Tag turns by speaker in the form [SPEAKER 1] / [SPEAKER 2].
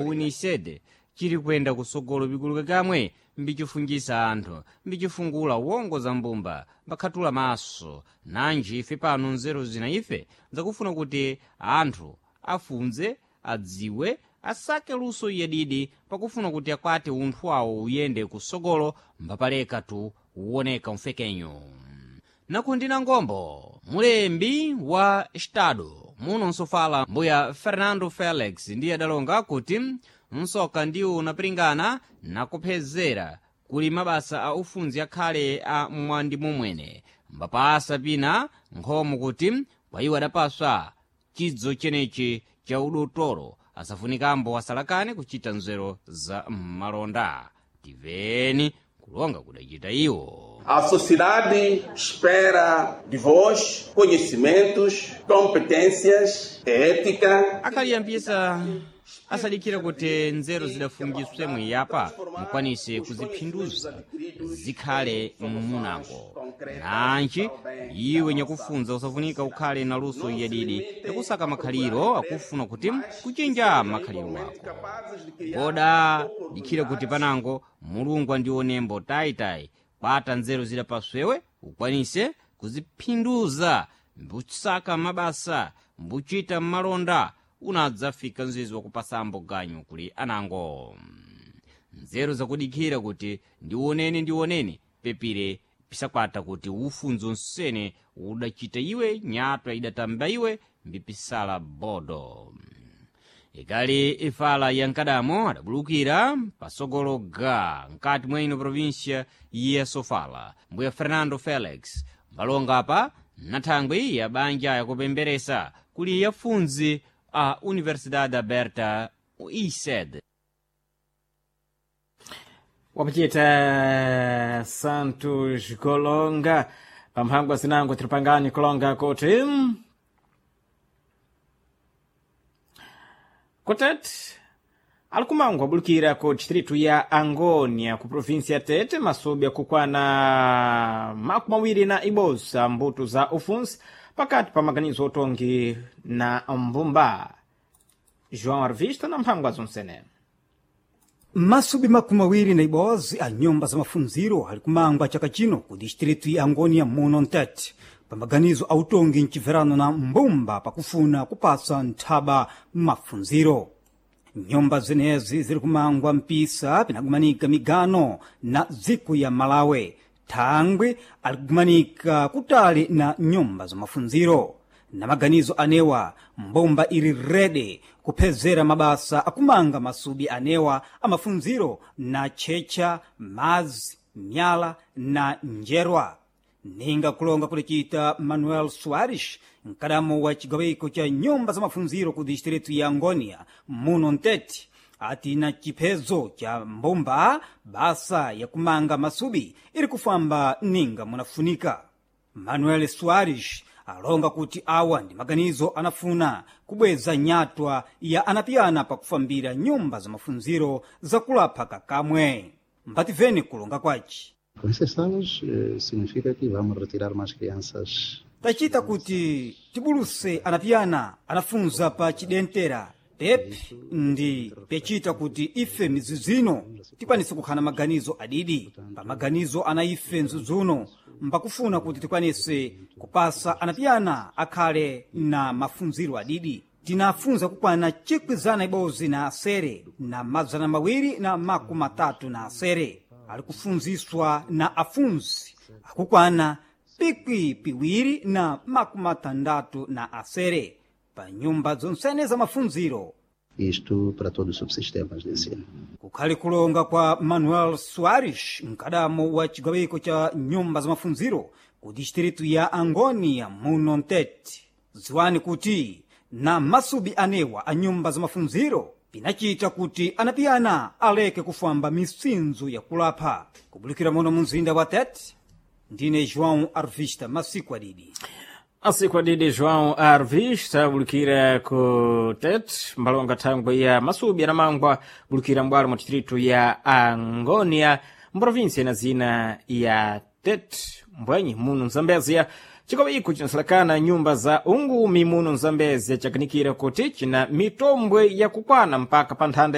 [SPEAKER 1] Ku Unicede chili kuyenda kusogolo pikuluka kamwe mbichifungisa anthu, mbichifungula wongo za mbumba, mbakhatula maso. Nanji ife pano nzeru zina ife zakufuna kuti anthu afunze, adziwe, asake luso yadidi pakufuna kuti akwate unthu wawo uyende kusogolo, mbapaleka tu uwoneka mfekenyo. Nakundina ngombo mulembi wa estado muno nsofala mbuya Fernando Felix ndiye adalonga kuti msoka ndiwo unapiringana nakuphezera kuli mabasa a ufunzi akhale a mwandi mumwene, mbapasa pina nkhomo kuti kwa iwo adapaswa chidzo chenechi cha udotolo asafunikambo asalakane kuchita nzeru za malonda. Tiveni kulonga kudachita iwo.
[SPEAKER 2] A sociedade espera de vós conhecimentos, competências, ética.
[SPEAKER 1] Akaliyambisa asadikira kuti nzeru zidafungiswe mwiyapa mukwanise kuziphinduza zikhale mmunango. Nanji iwe nyakufunza usafunika ukhale na luso yadidi yakusaka makhaliro akufuna kuti kuchinja makhaliro wako. Koda dikhira kuti panango Mulungu andionembo tayitayi kwata nzeru zidapaswewe ukwanise kuziphinduza mbutsaka mabasa mbuchita malonda unadzafika mzizi wakupasambo ganyu kuli anango. Nzeru zakudikhira kuti ndionene ndionene pepire pisakwata kuti ufunzo nsene udachita iwe nyatwa idatamba iwe mbipisala bodo. Ikali ifala ya nkadamo adabulukira pasogolo ga mkati mwa ino província ya Sofala mbuya Fernando Felix mbalonga apa nathangwi ya banja yakupemberesa kuli yafunzi a Universidade Aberta ISED.
[SPEAKER 3] Wapachita Santos Golonga pamphangwa zinango tiripangani kulonga kuti kutete alikumangwa abulukira ku distritu ya Angônia ku província ya Tete masubi akukwana 21 mbuto za ufunsi pakati pa maganizo otongi na mbumba. João Arvista na mphangwa zonsene.
[SPEAKER 4] Masubi 21 a nyumba za mafunziro ali kumangwa chaka chino ku distritu ya Angônia muno Ntete pamaganizo a utongi mchibverano na mbumba pakufuna kupasa nthaba mafunziro. Nyumba zenezi ziri kumangwa mpisa pinagumanika migano na dziko ya Malawi, thangwi ali kugumanika kutali na nyumba za mafunziro. Na maganizo anewa mbumba ili rede kuphezera mabasa akumanga masubi anewa amafunziro na tchecha, mazi, myala na njerwa. Ninga kulonga kulicita Manuel Soares, mkadamo wa chigawiko cha nyumba za mafunziro ku distritu ya Angônia muno Ntete, ati na chiphezo cha mbumba basa ya kumanga masubi iri kufamba ninga munafunika. Manuel Soares alonga kuti awa ndi maganizo anafuna kubweza nyatwa ya anapiyana pakufambira nyumba za mafunziro zakulapha kakamwe. Mbativeni kulonga kwaci.
[SPEAKER 5] Com essas salas, significa que vamos retirar mais crianças.
[SPEAKER 4] Tachita kuti tibuluse anapiyana anafunza pa chidentera pep ndi pechita kuti ife mizuzu tikwanise kukhala maganizo adidi. Pa maganizo ana ife mzuzuno mbakufuna kuti tikwanise kupasa anapiyana akhale na mafunziro adidi. Tinafunza kukwana 1,006 na 236 ali kufunziswa na afunzi akukwana 2,066 pa nyumba zonsene za mafunziro.
[SPEAKER 5] Isto para todos os subsistemas de ensino.
[SPEAKER 4] Kukhali kulonga kwa Manuel Soares, mkadamo wa chigawiko cha nyumba za mafunziro ku distritu ya Angônia muno Ntete. Ziwani kuti na masubi anewa a nyumba za mafunziro pinachita kuti anapiyana aleke kufamba misinzo ya kulapha. Kubulikira muno mu mzinda wa Tete, ndine João Arvista masiku adidi.
[SPEAKER 3] Asiku adidi João Arvista bulukira ku Tete mbalonga thangwi ya masubi anamangwa bulukira mbwalo mwa distritu ya Angônia mprovinsia na zina ya Tete mbwenyi muno Mzambezia. Chikowiko chinasalakana nyumba za ungumi muno Mzambezia chakanikira kuti china mitombwe yakukwana mpaka pa nthanda.